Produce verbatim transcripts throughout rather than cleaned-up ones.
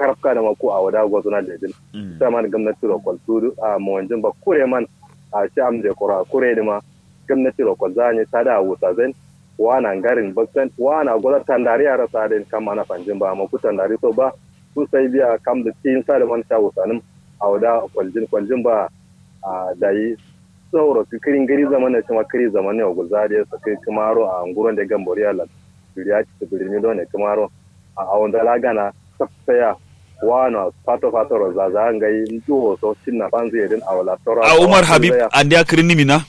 karabka dǝ ma ku awo da gozǝna lejin. Saman gomnati ro kwaltu dǝ a mowanjin ba kure man. A shi amde kura kure dǝ ma gomnati ro kwalza nyi tada wusa zain. Wana ngarin baksan wana goza tandari a rasa adin kam mana fanjin ba amma ku tandari so ba. Ku sai biya kam dǝ tin sa dǝ man sha wusanǝm. Awo da kwaljin kwaljin ba. A dayi sauro kǝ kǝri ngǝri zaman ne shima kǝri zaman ne wa gulza adǝ ye sakai kǝmaro a nguron de gambori allan. Duriya citǝ bǝrimi do ne kǝmaro. A awonza la gana saksaya. Wano fato fato ro zaza ngai nduwo so cinna fanzu yedin awo la toro a umar habib. Andiya kǝrinǝmi na.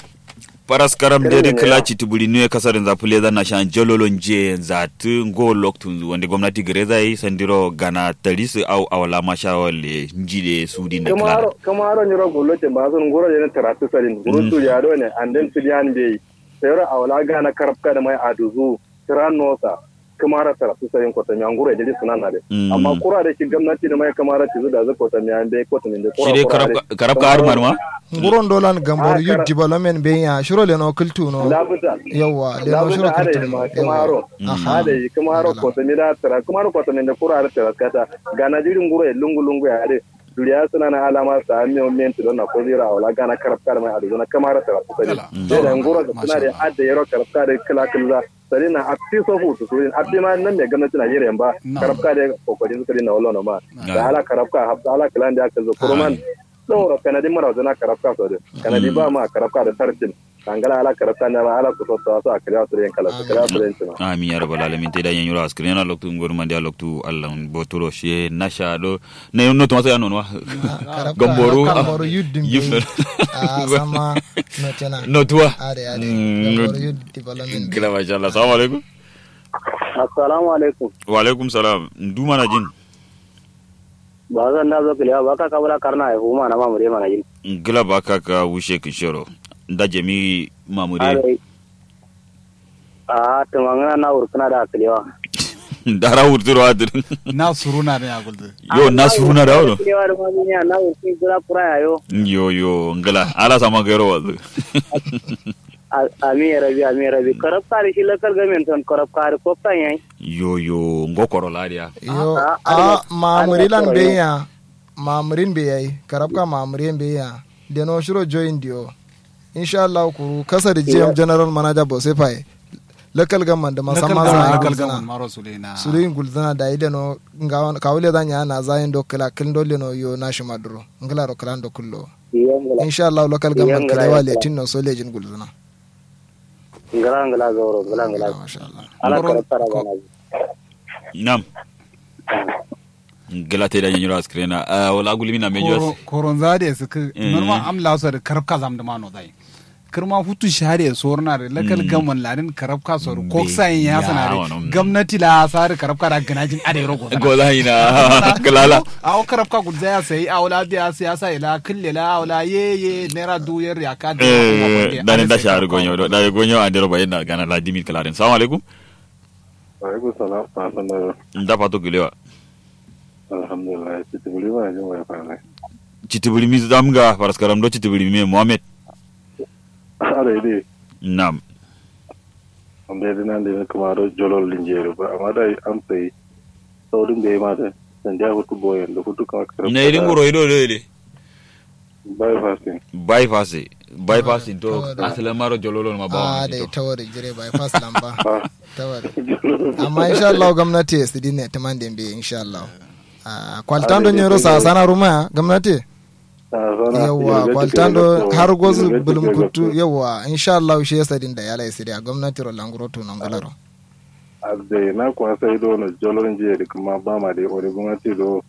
Faras karam de dǝ kǝla citǝ bǝri nuye kasarinza fǝleza nashan jololo njiye nzatǝ ngo loktunzu wande gomnati gǝreza ye sandiro gana tarisǝ au awo la masha walle nji de sudin de kǝla. Kǝmaro nyiro gullotin ba sun nguro de ne taratǝ sadin gurun duriya do ne. Anden fidiyan beyi. Sayro awo la gana karabka dǝ mai aduzu. Tiran nosa. Kǝmara taraftu sarin kotamiya nguro ye jiri sǝnana de. Amma kura de shi gomnati dǝ mai kǝmara cizu dazǝ kotamiya mbe kotami mbe kura kura de. Karabka har marma. Nguron dolan gambor youth development mbe ya shiro leno kǝltu no. Labuta. Yawwa leno shiro kǝltu no. Kǝmaro. Aha. Ade kǝmaro kotami da tara kǝmaro kotami mbe kura har tara kata. Gana jiri nguro ye lungu lungu ya ade. Duriya sǝnana alama sa miyo men tido na kozira awala gana karabka dǝ mai ade zona kǝmara taraftu sarin. Sai da nguro sǝna de ade yero karabka dǝ kǝla kǝlza. Sari na affi so futu surin affi ma nan me gomnati na yere mba. Karabka de kokori su sari na wallo no ma. Da ala karabka hafta ala kala nde aka zo kuruman. Sauro kanadi mara zana karabka so de kanadi ba ma karabka da tarcin. Kangala ala karabka ne ma ala kuso to so akali asu ren kala su kala asu ren cima. Amin ya rabbal alamin te da yan yura askrin na loktu ngor mandi loktu allah boturo she nasha do. Ne no to masa ya no wa. Gamboru. Gamboru yuddin yufna. Sama. Notena notuwa. Are are. Gamboru yuddin development. Gila masha allah assalamu alaikum. Assalamu alaikum. Wa alaikum salam. Ndu mana jin. Ba zan da zo kiliya ba ka kabula karna ai huma na mamure mana jin. Gila ba ka ka wushe kishero. Nda jami mamure. A tumangana na wurkuna da kiliwa. Dara wurturo adir. Na suruna ne aguldu. Yo na suruna da wuro. Kiliwa da mamiya na wurkun gula kura yayo. Yo yo ngila ala sama gairo wazu. Ami ya rabi ami ya rabi karabka da shi lakal gamen ton karabka da koktan yayi. Yo yo ngo koro ladiya. Yo a mamuri lan beya. Mamurin beyayi karabka mamuri beya. Deno shiro join diyo. Insha allah kuru kasa da gm general manager bosefa ye. Lakal gamman da masamma za a yi gulzuna. Suluyin gulzuna da yi deno. Kawule za nya na za yin do kila kil do leno yo na shima duro. Ngila ro kilan do kullo. Insha allah lakal gamman kalewa letin no so lejin gulzuna. Ngila ngila zauro ngila ngila. Ala karabka da gana. Nam. Ngila te da nyanyiro askirena. Wala gulmi na mejo. Koronza de sik. Norma am la so de karabka zam de mano dai. Kirma futu share sorna de lakal gaman ladin karabka so de koksa yin ya sana de. Gomnati la sa de karabka da ganajin ade rogo. Gola ina. Kilala. Awo karabka gulza ya sai awo la biya siyasa ila kille la awo la ye ye nera du yer ya ka de. Dani da share gonyo da gonyo andero bayin na gana la dimin kilarin assalamu alaikum. Alaikum salam. Nda fato gilewa. Alhamdulillah citibiri ma jin wai fara. Citibiri mi zamga faraskaram do citibiri mi muhammed. Are de. Nam. Amde dinan de kuma do jolol linjeri ba amma da am sai. Saudin da ma da. Sandiya hutu boyen da hutu kuma karfi na idin guro ido do ide. Bypassing. Bypassing. Bypassing to. Asalin maro jololon ma ba wa da tawari jire bypass lamba. Tawari. Amma insha Allah gwamnati ya sidi ne tuman da mbe insha Allah. Kwaltando nyero sa sana ruma gwamnati. Yawwa kwaltando har gozu bulum kuttu yawwa insha Allah shi ya sadin da yala ya sidi a gwamnati ro languro to nan gularo. Abde na kwa sai do no jolor nje de kuma ba ma de ore gwamnati do.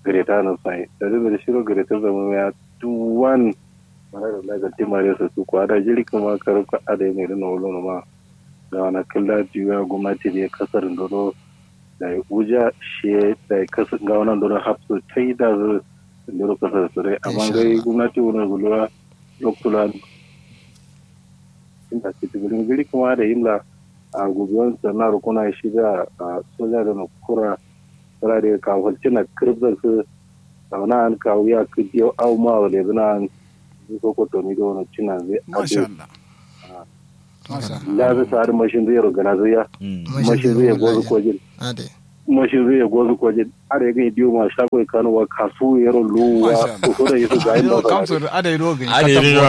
Greta no sai da da shiro greta zama ya duwan. Mara da na ga timare su su kwa da jiri kuma karabka adai ne da no lo ma. Ga wana killa diwa gwamnati de kasar ndoro. Da uja shi da kasar ga wana ndoro hapsu tai da zu. Ndoro kasar su dai amma gai gwamnati wani gulwa. Lokula. Inda citibirin giri kuma da imla. A gubiyon sanna rukuna shi da soja da na kura. Sala de ka falcina kirib da su. Sauna an kawu ya kidi yau au ma wale zina an. Ko ko to ni do no cina zai. Masha Allah. Masha Allah. La zai sa da mashin zai ro gana zai ya. Mashin zai ya gozo ko jin. Ade. Mashin zai ya gozu kwajin. Are ga idiyo ma shago ya kano wa kasu yaro luwa. Masha Allah. Kuso da yusu ga yin masana. Kamso da ada ido ga ade ido.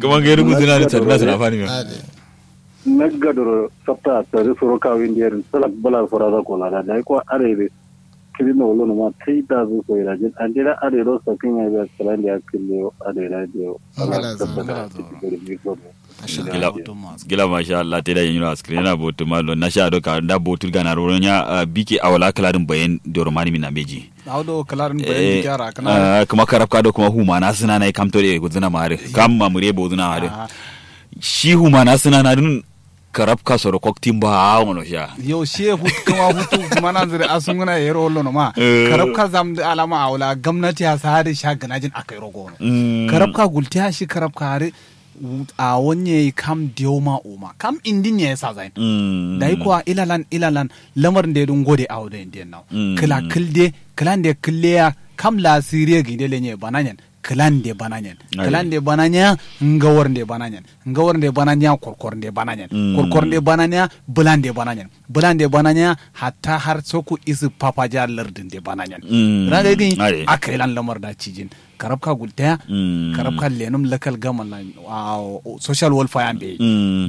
Kuma ga ido guzuna da tadda suna fani mai. Nagga doro sabta tare soro kawin da yarin salak bala fara za ko lada da ko are be. Kiri na wolo ma tai da zu ko ira jin an dira are ro sakin ya ga kalan da ya kille are radio. Gila masha Allah te da yin ro askri na botu ma lo na sha do ka da botu gana ro nya bike awala kaladin bayan doro mani mina meji. Awdo kaladin bayan bike ara kana kuma karabka do kuma huma na suna na kamto de guzuna mare kam mamure bozuna mare. Shi huma na suna na dun karabka soro koktin ba a wono sha. Yo shi hut kuma hutu kuma na zire asunguna yero lono ma karabka zam da alama awala gamnati a sahari sha ganajin akai rogo wono. Karabka gultiya shi karabka hari a wanye kam diyau ma uma kam indin ya sa zain. Dai kuwa ilalan ilalan lamar da dun gode awo da indiyan nawo kila kilde kilan da kille ya kam la siriya ginde lenye bananyen. Kilan de bananyen kilan de bananya ngawar de bananyen ngawar de bananya korkor de bananyen korkor de bananya bulan de bananyen bulan de bananya hatta har soku isi papaja lardin de bananyen. Ranga gin akailan lamar da cijin karabka gultaya karabka lenum lakal gaman la social welfare be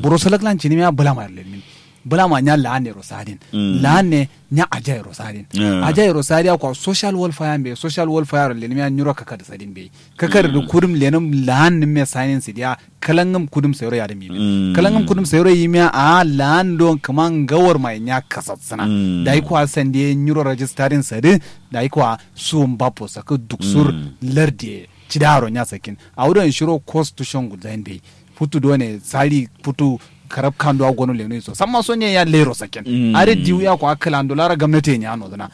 buro salak lan cinimiya bulama lenmin. Bulama nya laanne ro sadin laanne nya ajai ro sadin ajai ro sadiya kwa social welfare be social welfare ro lenimiya nyuro kakadi sadin be kakadi du kudum lenum laanne me sanin sidiya kalangum kudum sayro yadin mimin kalangum kudum sayro yimiya a laan don kuma ngawar mai nya kasatsina. Dai kwa sande nyuro rajistarin sadi dai kwa suwun bapo saka duksur lardiye cidaro nya sakin awudo inshiro constitution guzain be. Futu done sari futu karab kando a gono leno iso samma so nye ya lero saken. Are diwu ya kwa kala ando lara gamnati nya no dana.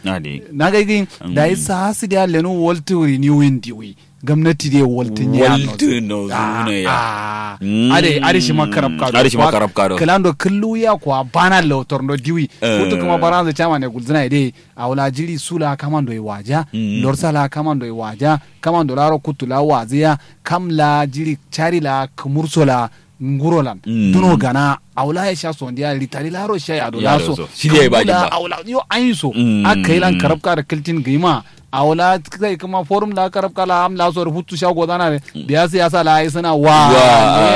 Na ga gi da isa hasi da leno waltu renewing diwi gamnati de waltu nya no waltu no zuna ya. Are are shi ma karab kado are shi ma karab kado kala ando kullu ya kwa bana lotor ndo diwi. Futu kuma baranza chama ne gulzina de. Awla jiri sula kamando iwaja lorsa la kamando iwaja kamando laro kutu la waziya. Kam la jiri chari la kumurso la nguro lan duno gana. Awla ya sha sondiya ritari laro sha yado laso shidi ya ba jimba awla yo ayin so. Aka yi lan karabka da kiltin gima awla kai kuma forum la karabka la am laso da hutu sha godana de. Biya siyasa la ayi suna wa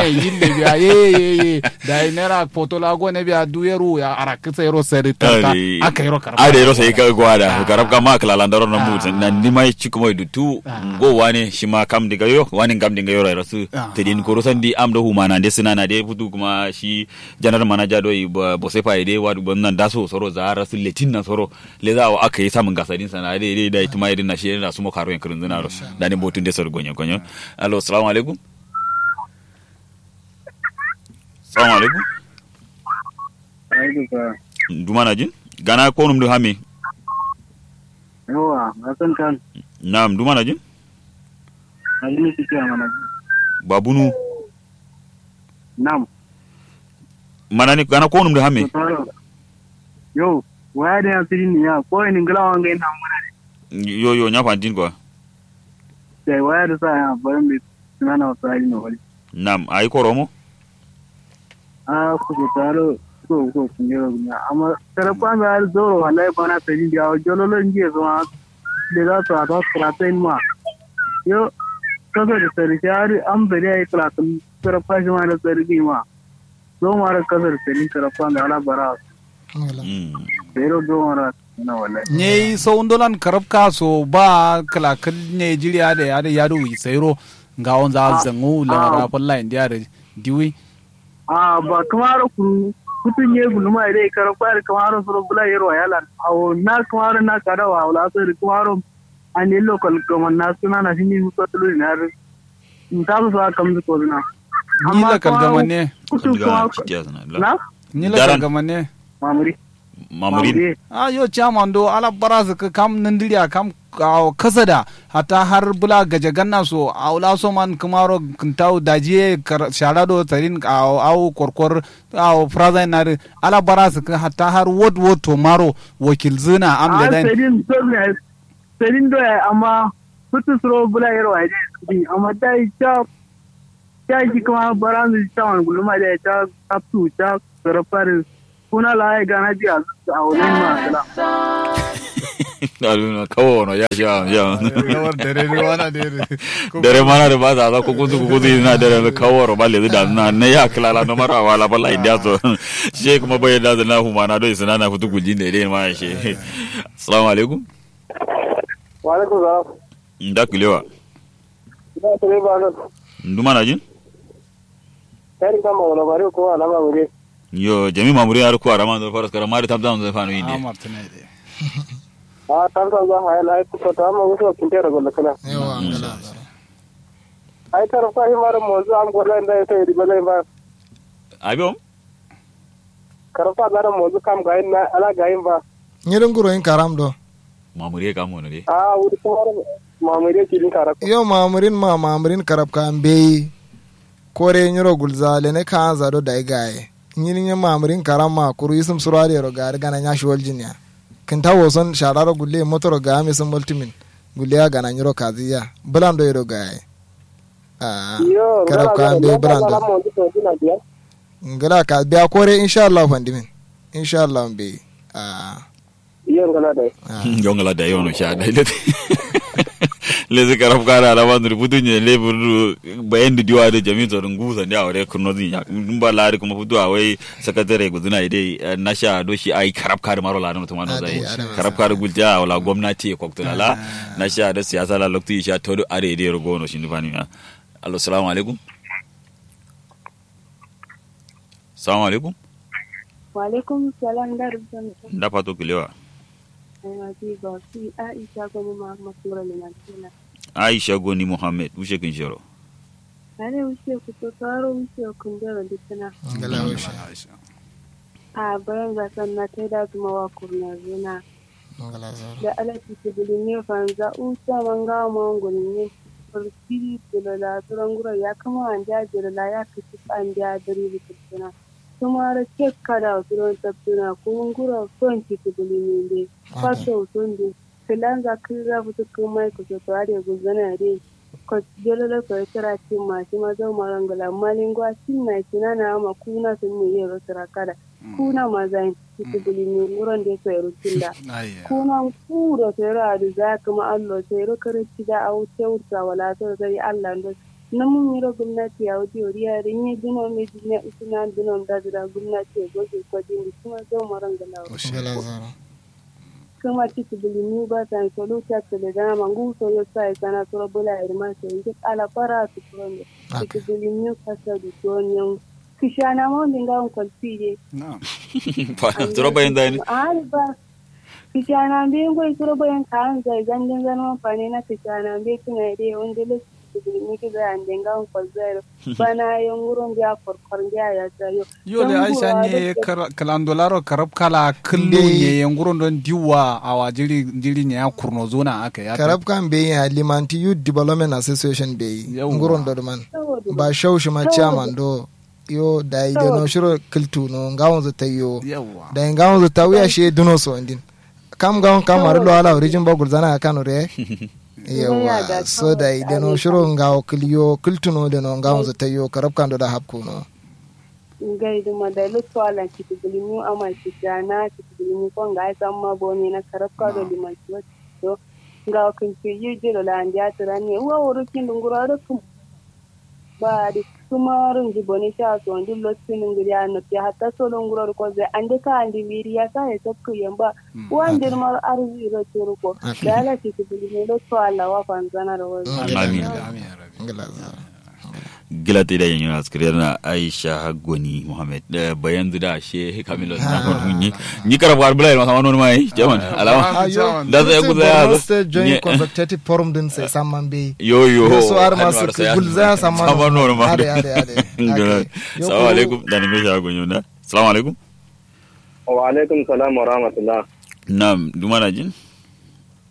ne yille biya ye ye ye da yi nera foto la gone biya du yero ya arakisa yero sari tarta. Aka yero karabka ada yero sai ka gwada karabka ma kala landaro na mutu na nima yi ciku mai dutu. Ngo wane shi ma kam dinga yo wane ngam dinga yo rai rasu tedin koro sandi am do humana de suna na de futu kuma shi janar manaja do yi bosefa yi de wadu ban nan daso soro za rasu letin nan soro. Leza wa aka yi samun gasadin sana de de da ituma yi din na shi na sumo karo yankirin zina ro. Da ne botun de soro gonyo gonyo. Alo assalamu alaikum. Salamu alaikum. Alaikum salam. Dumana jin gana konum du hami. Yawa hasan kan. Na'am dumana jin. Babunu. Na'am. Manani gana konum du hami. Yo waya da ya sirin ya ko ni ngila wanga ina manani. Yo yo nya fantin kwa. Sai waya da sa ya bayan bi nana wasa ni wali. Nam ayi koromo. A kuso taro kuso kuso kungero gunya amma karabka me har zoro wallahi bana sari da yawo jololo ngiye so ma. Da za su hata suratain ma yo kasa da sari shari am sari ayi kalatin karabka shi ma na sari ma. Zo ma da kasa da sari karabka me ala bara. Bero gawara na wallahi. Nyei sau ndolan karabka so ba kalakal nyei jiri ade ade yadu wi sairo. Ngawon za zangu lamara falla indi ade diwi. A ba kamaro kuru kutun nyei guluma ide karabka da kamaro suro bula yero yalan awo na kamaro na kada wa wala so da kamaro. An yello kalkaman na suna na fini musa tulu ina. Ntasu so a kamdu koduna. Ni la kalgama ne. Kutu kuma na. Ni la kalgama ne. Mamuri. Mamuri. A yo chairman do ala bara su kam nandiriya kam kasada. Hatta har bula gaje ganna so aula so man kumaro kintawo dajiye shara do tarin awo korkor awo frazai na ala bara su hatta har wot wot to maro wakil zina am da dan. Sarin do ya amma futu suro bula yero wa dai amma dai cha. Cha shi kuma baranzu cha wan guluma dai cha kaptu cha sarafari. Kuna la ai gana ji a awo nin ma kala. Aluna kawo no ya sha ya. Dare mana da ba za za kukutu kukutu ina dare kawo ro ba le da na ne ya kala la no mara wala ba la india so. She kuma bai da na huma na do isna na futu gulji ne dai ma she. Assalamu alaikum. Wa alaikum salam. Nda kulewa. Nda kulewa. Nduma na jin. Kari kama wala bari ko alama wuri. Yo jami mamuri har ku arama do faras kara mari tamtam do fanu inde. A tamtam do hayal ai ku to amma wuso kinte ro golla kala. Yawa ngala. Ai tar fa himar mozu am golla inda ita iri bala ba. Abi om. Karfa zara mozu kam gayin na ala gayin ba. Nyirin guro yin karam do. Mamuri kam wono de. A wuri kuma mamuri kirin karab. Yo mamurin ma mamurin karab ka mbeyi. Kore nyiro gulza lene kanza do dai gaye. Nyiri nye mamurin karam ma kuru isum surwari yero gari gana nya shiwal jinya. Kinta woson shararo gulle motoro ga ami sun multimin. Gulle ya gana nyiro kaziya bulan do yero gaye. A karab ka mbeyi bulan do. Ngala ka biya kore insha Allah fandimin. Insha Allah mbeyi. A. Yo ngala dai. Yo ngala dai yo no sha dai. Lezi karab kara ala bandur futu nye le burdu bayan da diwa da jami'in tsoron gusa ne a wure kurno zin ya in ba lari kuma futu a wai sakatare guduna idai na sha do shi ai karab kara maro la no tumano zai karab kara gulja wala gwamnati ya kokto la na sha da siyasa la lokti sha todo are idai rogo no shi nufani ya. Allo salamu alaikum. Salamu alaikum. Wa alaikum salam da rubutun. Nda fato kilewa. Aima ti ba fi aisha goni muhammad sura limantina. Aisha goni muhammad wushe kin shero. Are wushe ku to taro wushe kun da wanda tana. Ngala wushe. A bayan zakan na taida kuma wa kurna zuna. Da ala titi bulunye fanza usa manga mangulunye. Kurkiri tulo la turo nguro ya kuma andi ajiro la ya kici andi adiri bikitina. Tumaro cek kada turo tabtuna kuru nguro son titi bulunye nde. Fato usun nde. Kilanza kira futu kuma ikuso to ade guzana de. Ko jololo so tira cimma shima zau marangula malingo a cinna cinana ama kuna sun mu yero tira kada. Kuna mazain. Titi bulimi nguron de soyero cilla. Kuna kuro soyero adu za kuma allo soyero kare cida au tewursa wala to sai allah ndo. Namun yiro gumnati ya wudi wuri ya rinye duno me dunya isina duno da zira gumnati ya goge kwajin di kuma zo maran galawa. Kuma titi bulimi ba san solu ta tele dana mangu soyo sai sana soro bula irma sai ngi ala fara su kuron de. Titi bulimi kasa du to nyon. Kishana ma wonde ngawon kwalfi de. Turo bayin zai ne. Ari ba. Kishana mbe ngoi turo bayin ka an zai zangin zan man fane na kishana mbe tuna de wonde le. Ni ki zai ande ngawon kwalfi zai. Bana yo nguro nge a korkor nge a yasa yo. Yo le aisha nye. Kalando laro karab kala kullu nye yo nguro ndo ndiwa awa jiri jiri nye a kurno zona aka ya karab kan be ya limanti youth development association be nguro ndo man. Ba shau shima chairman do. Yo dai deno shiro kiltuno ngawon zu tayyo. Dai ngawon zu tawiya she duno so ndin. Kam ngawon kam mari lo ala orijin ba gulzana kano re. Yawa so dai deno shiro ngawo kilyo kiltuno deno ngawon zu tayyo karab kando da hapkuno. Ngai duma dai luttu alan citi gulimi ama citi ana citi gulimi ko ngai samma boni na karab kado liman ciwo. Ngawo kin ciyi jilo la andi atiran ne uwa woro kindu nguro ado kum. Ba di kuma rungi boni sha so ndi lottu ningiri a noppi hatta solo nguro ko zai ande ka andi miri ya sa ya tokku yamba. Uwa ndir maro arzi ro turu ko. Da ala citi gulimi luttu ala wa fanzana ro. Amin. Gila te da yin yuna skiriyar na aisha haggoni muhammad bayan zu da she kamilo na kono nyi. Nyi kara bugar bula ma sama nono mai jaman alama. Da sai ku zaya zo state joint consultative forum din sai samman be. Yo yo so har ma su gulza samman nono ma. Ade ade ade. Salamu alaikum da ni me shago yuna. Salamu alaikum. Wa alaikum salam wa rahmatullah. Nam duma na jin.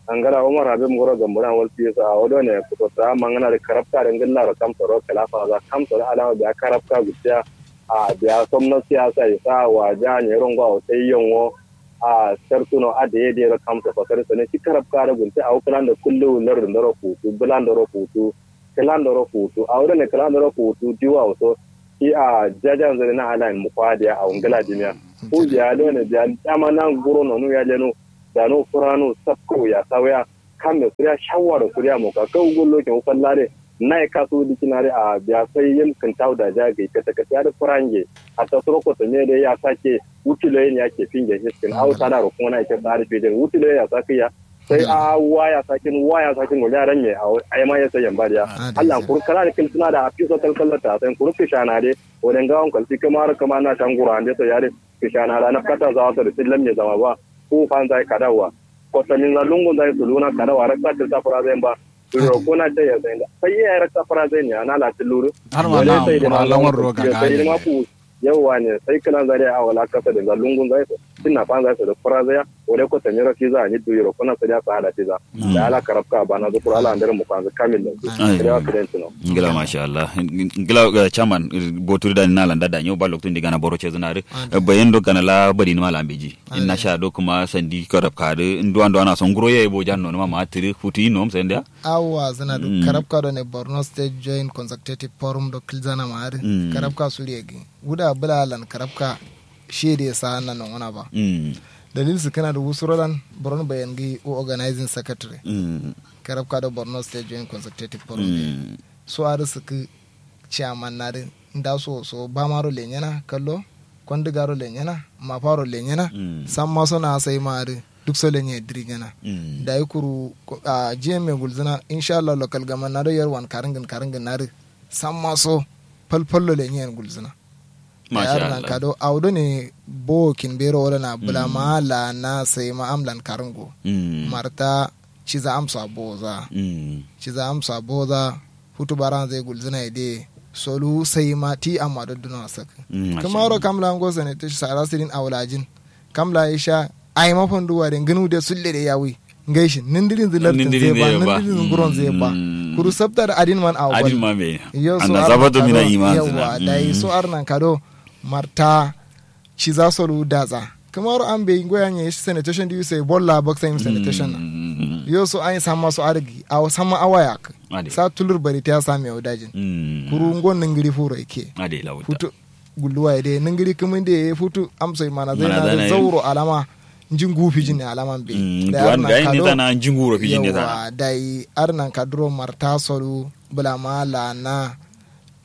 Angala umar habib ngoro gambo na walti so awo do ne kuto ta mangana de karabka de ngilla ro kam soro kala fa za kam soro alawa biya karabka gutiya. A biya somno siyasa isa wa ja ne rongo awo sai yongo. A sartuno a de de ro kam so fasari sone shi karabka de gunte awo kala ndo kullu lar ndo ro kutu bula ndo ro kutu. Kala ndo ro kutu awo do ne kala ndo ro kutu diwa so. Shi a jajan zane na halayen mu kwadiya a wangala dimiya. Ko biya done biya dama na nguro nonu ya leno. Dano furano sakko ya sauya. Kamme suriya shawaro suriya moka kau gullo ke ufallare. Naye kasu dikinare a biya sai yim kintau da ja gai kata kata ya da furange. Hatta suro ko sanye da ya sake. Wuti loyin ya ke finge hiskin au sadaro kuma na ke tsari fijin wuti loyin ya sake ya. Sai a waya sakin waya sakin wala ran me a ai ma ya sai yamba da ya. Allah kuru kala da kin suna da afiso kalkallata sai kuru kishana de. Wani ngawon kalfi kamar kamar na shangura ande sai ya de. Kishana da na kata zawa sai da fillan me zama ba. Ku fan zai kadawa. Ko samin za lungun zai suluna kadawa rakka tilta fura zai ba. Rokuna ce ya zai da sai ya rakka fura zai ne ana la tiluru. Har ma na sai da ma lamar roga ga sai ma ku. Yawwa ne sai kana zare a wala kasa da lungun zai. Tinna fan zai da fura zai. Wale ko tanyiro fiza ni du yiro kuna sariya sa ala fiza. Da ala karabka bana zu kura ala andere mu kanzu kamil da. Sariya fidan tino. Ngila masha Allah. Ngila chairman boturi da na landa da nyo ba loktu ndi gana boro chezu na re. Bayan do gana la bari ni mala mbeji. Inna sha do kuma sandi karabka de ndu ando ana songuro ye bo janno ma ma tiri futu ino sende. Awa zana do karabka do ne Borno State Joint Consultative Forum do kilzana ma are. Karabka suriye gi. Wuda bula lan karabka. Shede sa na nongona ba. Dalil sǝkkǝna dǝ wusuro lan buron bayan gǝ wu organizing secretary. Karabka do borno state joint consultative forum. So adǝ sǝkkǝ chairman na dǝ nda so so bamaro lenyena kallo. Kondǝgaro lenyena mafaro lenyena. Samma so na sai ma adǝ duk so lenye dǝri nyena. Dayi kuru jiyem me gulzǝna inshallah local government na do yarwan karǝngǝn karǝngǝn na dǝ samma so. Falfallo lenyen gulzǝna. Masha Allah. Kado awo done bowo kin bero wala na bula ma la na sai ma am lan karungo. Marta ciza amsa boza. Ciza amsa boza. Futu baran zai gulzina ide solu sai ma ti amma dodduno asak. Kamaro kam lango sene te sara sirin awlajin. Kam la isha ai ma fandu ware ngunu de sulle de yawi. Ngai shin nindirin zu lartin zai ba nindirin zu nguron zai ba. Kuru sabta da adin man awo adin ma me. Yo so anna zabato mina iman yawa dai so arnan kado. Marta ciza solu daza. Kamaro an bai ngoya ne shi sanitation diwi sai bolla bak sai sanitation na. Yo so an samma so argi awo samma awaya. Sa tulur bari ta same wadajin. Kuru ngon ningiri furo ike. Futu gulluwa ye de ningiri kǝmin de ye futu amso ye mana zai na zauro alama. Njingu fijin ne alaman be. Dayi arnan kado yawa dayi arnan kaduro marta solu bulama lana.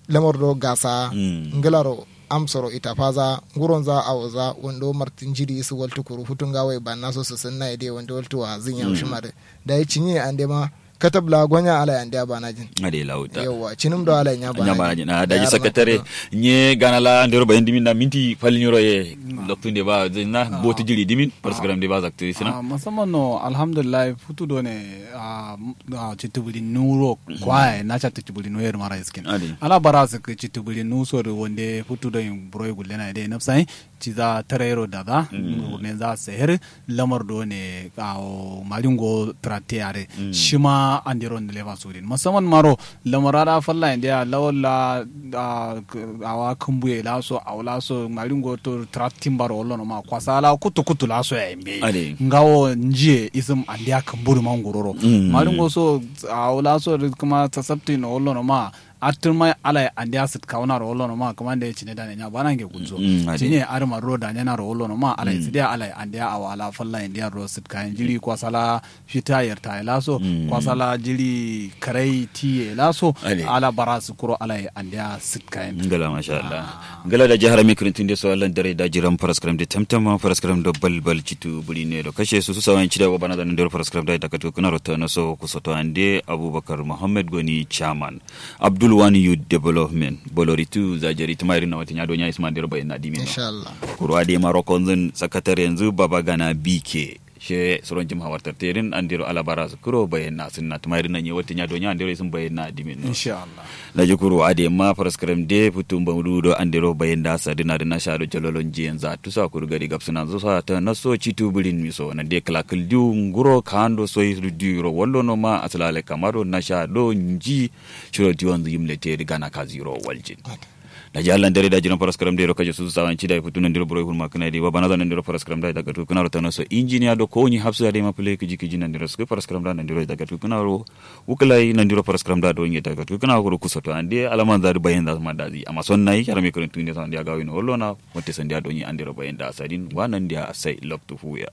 Lamar do gasa ngilaro amsoro itafaza nguronza awoza wando martin jiri isu waltu kuru futu ngawo ye banna so sǝsǝnna ye de wando waltu wa zin yau shima de. Dayi cinye ande ma katab la gonya ala yande abana jin. Ade lawuta yawa cinim do ala nya bana jin. Daji sakatare nye gana la ndero bayan dimin na minti fal nyiro ye. Loktu nde ba zin na botu jiri dimin. Parsugram nde ba zaktu isina. Musamman no alhamdulillah futu do ne. Citubuli nuro kwaye na ca citubuli nuro yer mara iskin. Ala bara sik citubuli nuso do wande futu do yin buro gulle na de nafsai. Ciza tarero daza. Gurne za seher. Lamar do ne awo maringo trate yare. Shima andero ne lema sudin musamman maro. Lamar ada falla india lawalla. Awa kumbuye laso awo laso maringo to tratin baro wallo no ma kwasala kutu kutu laso ya imbe. Ngawo njiye isum andia kumburu manguroro. Maringo so awo laso kuma tasabti no wallo no ma. Atturma alai andiya sǝt kawunaro wallono ma kǝmande cine dane nya banange gulzo. Cine adǝ ma duro danyena ro wallono ma alai sǝdiya alai andiya awo ala falla indiya duro sǝt kayen jiri kwasala. Fita yartaye laso kwasala jiri karai tiye laso. Ala bara sǝkuro alai andiya sǝt kayen. Ngla masha allah. Ngla daji harami kǝrintǝnde so allan dare daji ram faraskaram de tamtam faraskaram do balbal citu buri ne do kashe susu sawayen cida go bana dane dero faraskaram daji dakatu kǝnaro tano so kusoto ande abubakar muhammad goni chairman. Abdul wani youth development boloritu zajeri tǝma irin na watinya do nya isma andero bayin na dimin no. Kuru adai ma rokonzun sakatare yanzu baba gana bike she suron jim hawartar terin andero alabara su kuro bayin na sunna tǝma irin na nye watinya do nya andero isun bayin na dimin no. Daji kuru adai ma faraskaram de futu mbamudu do andero bayin da sadina dina sha do jalolon jiyan za tusa kuru gari gabsuna zusa ta naso citu birin miso nande kǝlakǝl diu nguro kando soi diu ro wallo no ma asala alai kama do nasha do nji. Shiro diwonzu yim lete dǝ gana kazu yiro waljin. Daji allah ndero daji ron faraskaram dero kaje susu sawanci dayi futu nandiro buro hurma kǝna dai babana za nandiro faraskaram dayi daga tukǝna ro tano so injiniya do kowoni hafsu adai ma fule kǝji kǝji nandiro sǝkǝ faraskaram dayi nandiro daga tukǝna ro. Wukǝlai nandiro faraskaram dayi do nge daga tukǝna ro kusoto ande alaman za dǝ bayan za ma dazi amma son nayi yarame kǝrǝntu nde so ande agawi no wallo na. Wante sandi adonyi andero bayan da asadin wa nandi a sai loktu fuya.